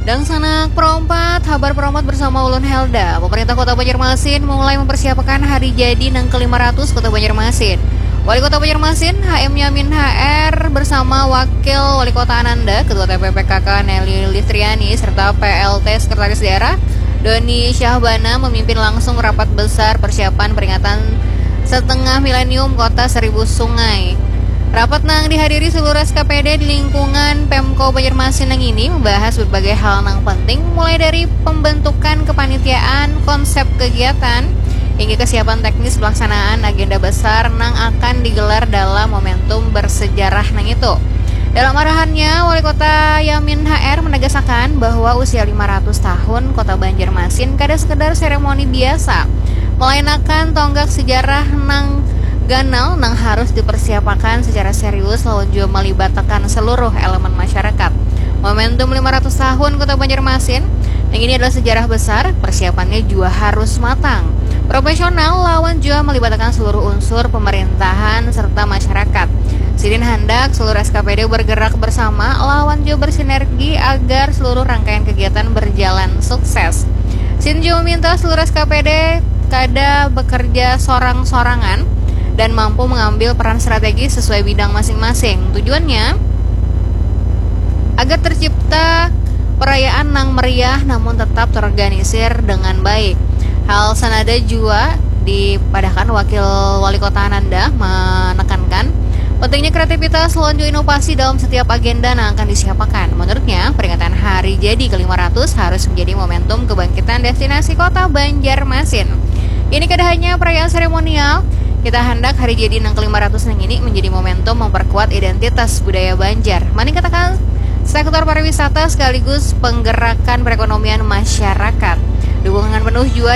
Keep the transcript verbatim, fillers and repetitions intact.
Dangsanak Pro empat, habar Pro empat bersama ulun Helda. Pemerintah Kota Banjarmasin mulai mempersiapkan hari jadi nang kelima ratus Kota Banjarmasin. Wali Kota Banjarmasin, H M Yamin H R, bersama Wakil Wali Kota Ananda, Ketua T P P K K Nelly Listriani, serta P L T Sekretaris Daerah Doni Syahbana memimpin langsung rapat besar persiapan peringatan setengah milenium Kota Seribu Sungai. Rapat nang dihadiri seluruh S K P D di lingkungan Pemko Banjarmasin nang ini membahas berbagai hal nang penting, mulai dari pembentukan kepanitiaan, konsep kegiatan, hingga kesiapan teknis pelaksanaan agenda besar nang akan digelar dalam momentum bersejarah nang itu. Dalam arahannya, Wali Kota Yamin H R menegaskan bahwa usia lima ratus tahun Kota Banjarmasin kada sekedar seremoni biasa, melainkan tonggak sejarah nang ganal nang harus dipersiapakan secara serius lawan juga melibatakan seluruh elemen masyarakat. Momentum lima ratus tahun Kota Banjarmasin, yang ini adalah sejarah besar, persiapannya juga harus matang, profesional, lawan juga melibatkan seluruh unsur pemerintahan serta masyarakat. Sidin handak seluruh S K P D bergerak bersama lawan juga bersinergi agar seluruh rangkaian kegiatan berjalan sukses. Sidin juga meminta seluruh S K P D kada bekerja sorang-sorangan dan mampu mengambil peran strategis sesuai bidang masing-masing. Tujuannya agar tercipta perayaan nang meriah namun tetap terorganisir dengan baik. Hal senada juga dipadahkan Wakil Wali Kota Ananda menekankan pentingnya kreativitas lawan juga inovasi dalam setiap agenda yang akan disiapakan. Menurutnya, peringatan Hari Jadi ke lima ratus harus menjadi momentum kebangkitan destinasi Kota Banjarmasin. Ini kada hanya perayaan seremonial, kita handak Hari Jadi nang ke lima ratus nang ini menjadi momentum memperkuat identitas budaya Banjar, meningkatkan sektor pariwisata sekaligus penggerakan perekonomian masyarakat. Dukungan penuh juga